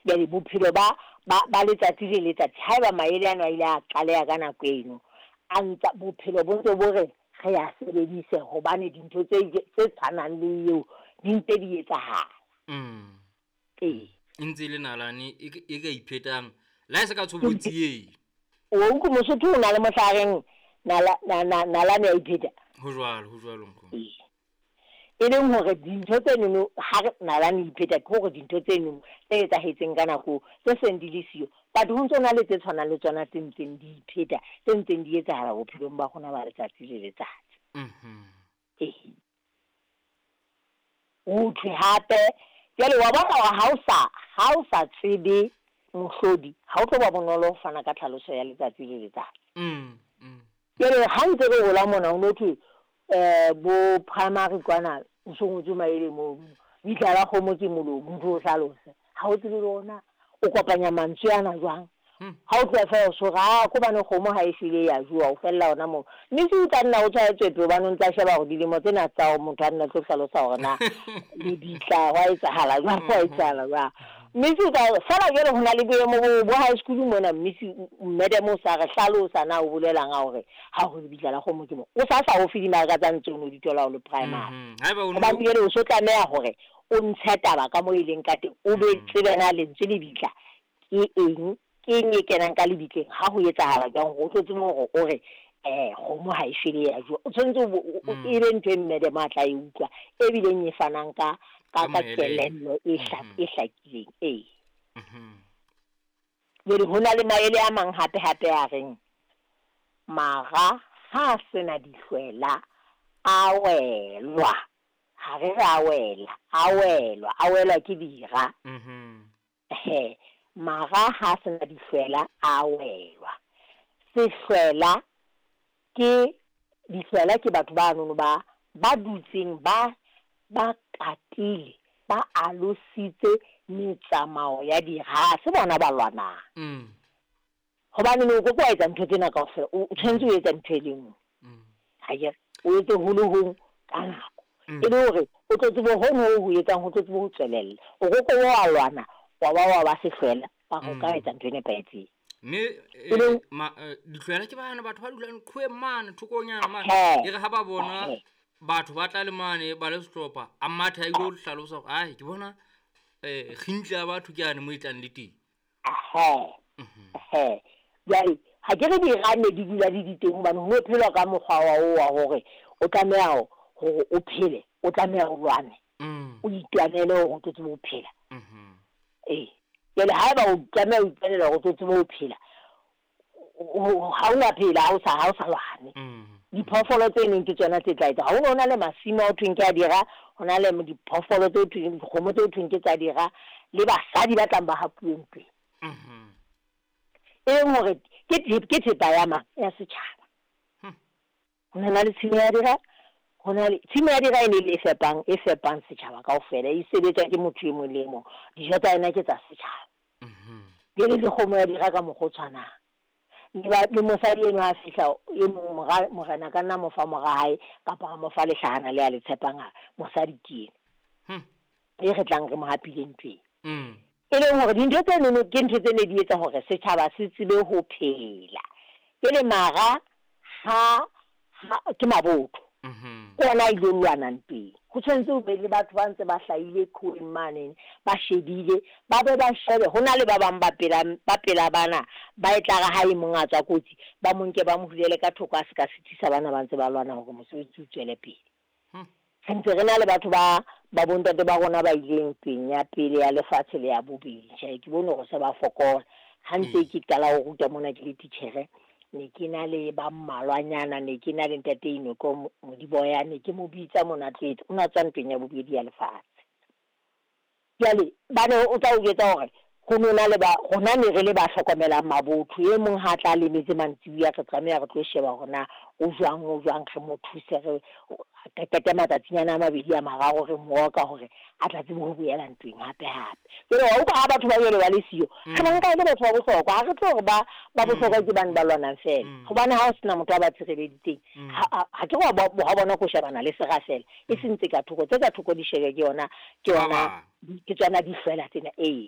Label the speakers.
Speaker 1: Jwale bophelo ba ba ba letsatsi le letsatsi, haeba maele ano a ile a qaleha ka nako eno, a ntsa bophelo bo ntse bo re re a sebedise hobane dintho tse tse tshwanang le eo di ntse di etsahala. Ee.
Speaker 2: E ntse e le nalane e e ka iphetang le ha e se ka tshobotsi ee.
Speaker 1: O utlwe Mosotho o na le mohla a reng nala, na, na, nalane ya ipheta.
Speaker 2: Ho jwalo, ho jwalo nkgono.
Speaker 1: Ee. E leng hore dintho tsenono ha re nalane ipheta ke hore dintho tsenono tse etsahetseng ka nako tse seng di le siyo, but ho ntso na le tse tshwanang le tsona tse ntseng di ipheta, tse ntseng di etsahala bophelong ba rona ba letsatsi le letsatsi. Ee. Ho thwe hape jwale wa bona hore ha o sa ha o sa tsebe mohlodi, ha o tlo ba bonolo ho fana ka tlhaloso ya letsatsi le letsatsi. Jwale ha ntse re hola mona ho no thwe bo primary kwana ho so ngotswe maele mono. Bitla la kgomo ke molomo, ntho o hlalose. Ha o tsebe le hore na o kopanya mantswe ana jwang. Ha o tloha feela o so re aa ke hobane kgomo ha e shwele e a jowa, o fella hona moo. Mme se o tla nna o tshwaetswe hobane o ntsa sheba hore dilemo tsena tsa hore motho a nna tlo hlalosa hore na lebitla hwa etsahala jwang, hwa etsahala jwang. Mme se o tla feela jwale ho na le boemo bo bo high school mona mme se madam o sa re hlalosa na o bolelang ha hore ha ho lebitla la kgomo ke mo. O sa sa o fe dimarka tsa ntse o no di thola o le primary.
Speaker 2: Haeba o no
Speaker 1: Hobane jwale o so tlameha hore o ntshe taba ka mo e leng ka teng, o be tsebe na lentswe lebitla ke eng, ke eng e kenang ka lebitleng, ha ho etsahala jwang hore o tlo tsebe hore o re kgomo ha e shwele ya jowa. O tshwanetse o e be ntho e madam a tla e utlwa e bileng e fanang ka ka
Speaker 2: Ka
Speaker 1: ka
Speaker 2: moelelo.
Speaker 1: kelello e e hlakileng. Ee. Jwale ho na le maele a mang hape hape a reng mara ha a sena dihlwela a welwa. Ha re re a wela, a welwa, a welwa ke dira. He, mara ha a sena dihlwela a welwa. Sehlwela ke dihlwela ke batho ba nono ba ba dutseng ba ba katile, ba alositse metsamao ya dira. Ha se bona ba lwanang. Hobane no o ke wa etsa ntho tsena kaofela, o tshwanetse o etsa ntho e le nngwe. Ha ke re, o etse ho le hong ka nako. E le hore o tlo tsebe hono ho ho etsang, ho tlo tsebe ho tswelella. O ke ke wa lwana, wa ba wa ba sehlwela, mara o ka etsa ntho e nepahetseng.
Speaker 2: Mme
Speaker 1: E leng
Speaker 2: dihlwela ke bana batho ba dulang qhoweng mane thokonyana mane.
Speaker 1: Ehe.
Speaker 2: E re ha ba bona
Speaker 1: Ehe.
Speaker 2: batho ba tla le mane ba le sehlopha, a matha a ilo hlalosa hore ai ke bona kgintla ya batho ke yane mo e tlang le teng.
Speaker 1: Ehe. Ehe. Jwale ha ke re dira ne di dula di di teng hobane ho no phelwa ka mokgwa wa o wa hore o tlameha hore o phele, o tlameha o lwane. O itwanele hore o tlo tsebe ho phela. Ee. Jwale haeba o tlameha o itwanela hore o tlo tsebe ho phela, ha o na phela ha o sa ha o sa lwane. Diphoofolo tse neng ke tsona tse tla etsa. Ha ho no na le masimo a ho thweng ke a dira, ho na le diphoofolo tse thweng, dikgomo tse thweng ke tsa dira, le basadi ba tlang ba hapuwe ntweng. E leng hore ke ke thepa ya mang, ya setjhaba. Ho na le tshimo ya dira, ho na le tshimo ya dira e ne le e fepang, e fepang setjhaba kaofela, e sebetswa ke motho e mong le e mong. Dijo tsa yona ke tsa setjhaba. Jwale le kgomo ya dira ka mokgwa o tshwanang. Le ba le mosadi enwa a fihla e mong mora morena ka nna mo fa mora hae kapa a mo fa lehlahana le a le tshepang a mosadi ke ena. E re tlang re mo hapile ntweng. E leng hore dintho tse nono ke ntho tse ne di etsa hore setjhaba se tsebe ho phela. Jwale mara ha ha ke mabotho. Ke ona a ilo lwana ntweng. Ho tshwanetse ho be le batho ba ntse ba hlahile qhoweng mane, ba shebile, ba be ba shebe. Ho na le ba bang ba pela ba pela bana ba e tla re ha e mong a tswa kotsi, ba mo nke ba mo hulele ka thoko a se ka sitisa bana ba ntse ba lwana hore mosebetsi o tswele pele. Re ntse re na le batho ba ba bontate ba rona ba ileng ntweng ya pele ya lefatshe le ya bobedi. Tjhe, ke bone hore se ba fokola. Ha ntse ke qala ho ruta mona ke le titjhere, ne ke na le ba mmalwanyana, ne ke na le ntate Inoko Modiboya, ne ke mo bitsa mona tlo etsa, o na tswa ntweng ya bobedi ya lefatshe. Jwale ba ne o tla o jwetsa hore ho no na le ba rona ne re le ba hlokomelang mabotho. E mong ha tla lemetse mantsibuya, re tlameha re tlo sheba hore na o jwang, o jwang, re mo thuse, re qete matsatsinyana a mabedi a mararo re mo oka hore a tla tsebe ho boela ntweng hape hape. Jwale wa utlwa ha batho ba jwale ba le siyo, re ba nka e le batho ba bohlokwa. Ha re tlo hore ba ba bohlokwa ke bane ba lwanang feela. Hobane ha o sena motho a ba tshireleditseng, ha ke re wa bona ko shebana le sera feela, e seng tse ka thoko. Tse ka thoko di shebe ke yona ke yona ke tsona dihlwela tsena. Ee.